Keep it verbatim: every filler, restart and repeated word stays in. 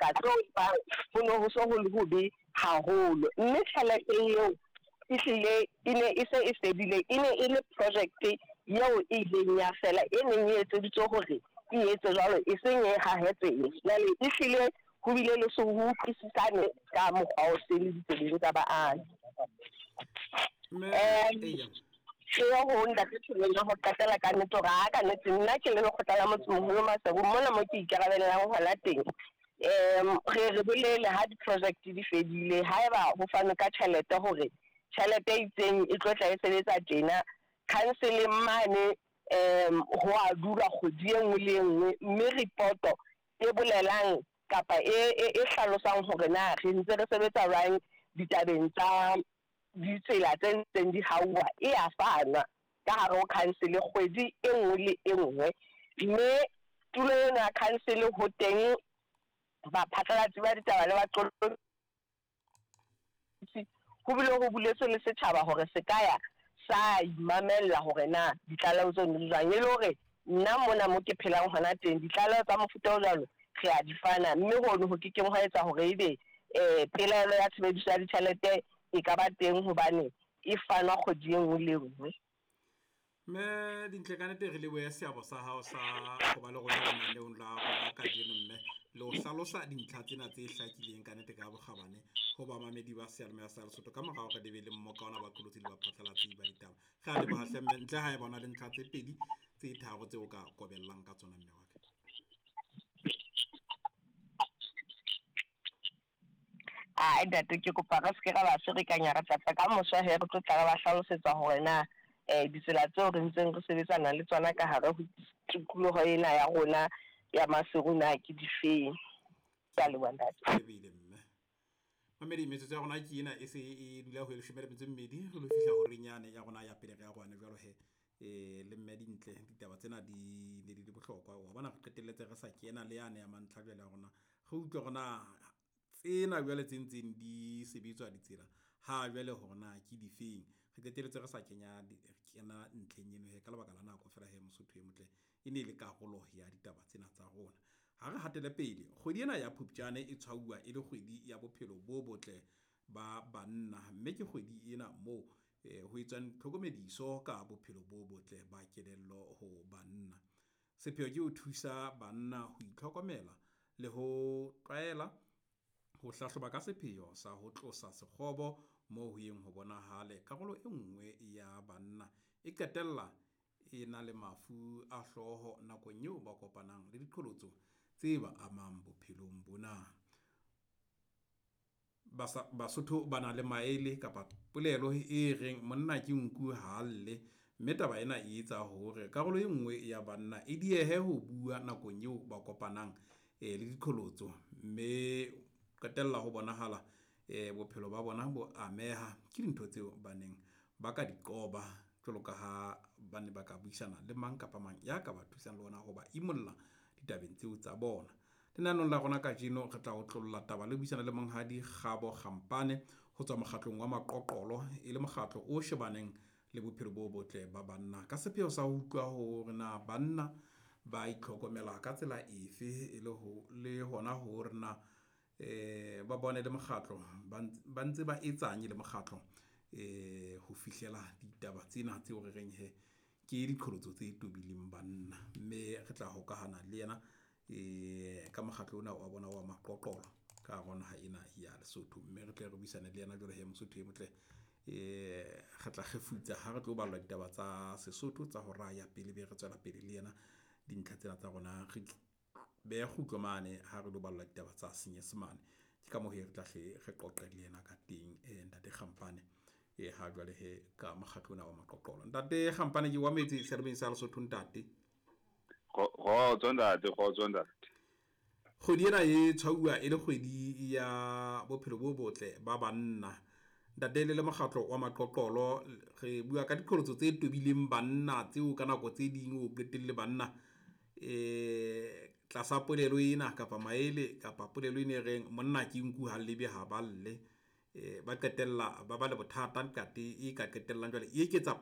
Dibaka tseo ho ne ho so ho le hobe haholo, mme tjhelete eo e hlile e ne e se e fedile. E ne e le project eo e ileng ya fela, e neng e etseditswe hore e etse jwalo, e seng e hahe tsela. Jwale e hlile ho bile le se ho utlwisisane ka mokgwa o sele ditsebeng tsa baahi. Mme eya. Ke ye ho ntate ya ho qetela ka nnete hore aa ka nnete nna ke le lekgotla la motsemoholo Maseru mona mo ke ikarabellang hona teng. Re re bolele ha di-project di fedile haeba ho fanwe ka tjhelete hore tjhelete e itseng e tlo tla e sebetsa tjena council-eng mane ho a dulwa kgwedi e nngwe le e nngwe, mme ripoto e bolelang kapa e e hlalosang hore na re ntse re sebetsa jwang ditabeng tsa ditsela tse ntseng di hauwa e ya fanwa ka hare ho council kgwedi e nngwe le e nngwe, mme tulo ena ya council ho teng baphatlalatsi ba ditaba le baqolotsi, ho bile ho buletswe le setjhaba hore se ka ya sa imamella hore na ditlaleho tseno di jwang, e le hore nna mona mo ke phelang hona teng ditlaleho tsa mofuta o jwalo re a di fana, mme hono ho ke keng hwa etsa hore ebe pelaelo ya tshebediso ya ditjhelete e ka ba teng hobane e fanwa kgwedi e nngwe le e nngwe. Mme Dintle, ka nnete re lebohe seabo sa hao sa ho ba le rona lenaneong la rona kajeno mme le ho hlalosa dintlha tsena tse hlakileng ka nnete ka bokgabane ho bamamedi ba seyalemoya sa Lesotho ka mora hore le be le mmoka ona baqolotsi le baphatlalatsi ba ditaba. Re a leboha hle mme, ntle ha eba o na le ntlha tse pedi tse tharo tseo o ka kobellang ka tsona mme wa ka. Ae ntate, ke kopa re seke ra ba ferekanya, re tla tla ka moso hee re tlo tla re ba hlalosetsa hore na ditsela tseo re ntseng re sebetsana le tsona ka hare ho tikoloho ena ya rona ya Maseru na ke difeng. Kea leboha ntate. Lebile mme. Mamedi, metsotso ya rona ke ena e se e dula ho e leshome le metso e mmedi re lo fihla horeng yane ya rona ya pele re arohane jwalo he. Eh le mme Dintle, ditaba tsena di ne di le bohlokwa wa bona re qetelletse re sa kena le yane ya mantlha jwale ya rona. Re utlwe hore na tsena jwale tse ntseng di sebetswa ditsela ha jwale hore na ke difeng. Re qetelletse re sa kenya kena ntlheng eno he ka lebaka la nako fela he Mosotho e motle e ne le karolo ya ditaba tsena tsa rona. Ha re hatele pele, kgwedi ena ya Phupjane e tshwauwa e le kgwedi ya bophelo bo botle ba banna, mme ke kgwedi ena moo eh, ho etswang tlhokomediso ka bophelo bo botle ba kelello ho banna. Sepheo ke ho thusa banna ho itlhokomela le ho tlwaela ho hlahloba ka sepheo sa ho tlosa sekgobo moo ho yeng ho bonahale karolo e nngwe ya banna e qetella e na le mafu a hlooho nakong eo ba kopanang le diqholotso tse ba amang bophelong bona. Basa, Basotho ba na le maele kapa polelo e reng monna ke nku ha lle, mme taba ena e etsa hore karolo e nngwe ya banna e diehe ho bua nakong eo ba kopanang eh, le diqholotso, mme qetella ho bonahala eh, bophelo ba bona bo ameha ke dintho tseo ba neng ba ka di qoba jwalo ka ha ba ne ba ka buisana le mang kapa mang ya ka ba thusang le ona ho ba imolla ditabeng tseo tsa bona. Lenaneong la rona kajeno re tla otlolla taba le buisana le monghadi Kgabo Kgampane ho tswa mokgatlong wa Maqoqolo, e le mokgatlo o shebaneng le bophelo bo botle ba banna ka sepheo sa ho utlwa hore na banna ba itlhokomela ka tsela efe e le ho le hona hore na eh ba bone le mokgatlo ba ntse ba etsang le mokgatlo eh ho fihlela ditaba tsena tseo re reng he ke diqholotso tse tobileng banna, mme re tla hokahana le yena eh ka mokgatlo ona wa bona wa Maqoqolo ka hara naha ena ya Lesotho, mme re tle re buisane le yena jwalo he Mosotho e motle. Eh re tla kgefutsa ha re tlo ballwa ditaba tsa Sesotho tsa hora ya pele, be re tswela pele le yena dintlha tsena tsa rona re beha kgutlo mane ha re lo ballwa ditaba tsa Senyesemane. Ke ka moo he re tla hle re qoqe le yena ka teng eh, ntate Kgampane e ha jwale he ka mokgatlo ona wa Maqoqolo. Ntate Kgampane ke wa metse seyalemoyeng sa Lesotho ntate. Kgotso ntate, kgotso ntate. Kgwedi ena e tshwauwa e le kgwedi ya bophelo bo botle ba banna. Ntate le le mokgatlo wa Maqoqolo re bua ka diqholotso tse tobileng banna tseo ka nako tse ding o qetelle banna eh tlasa polelo ena kapa maele kapa polelo ena e reng monna ke nku ha lebe ha ba lle, eh ba qetella ba ba le bothata ntate e ka qetellang jwale e eketsa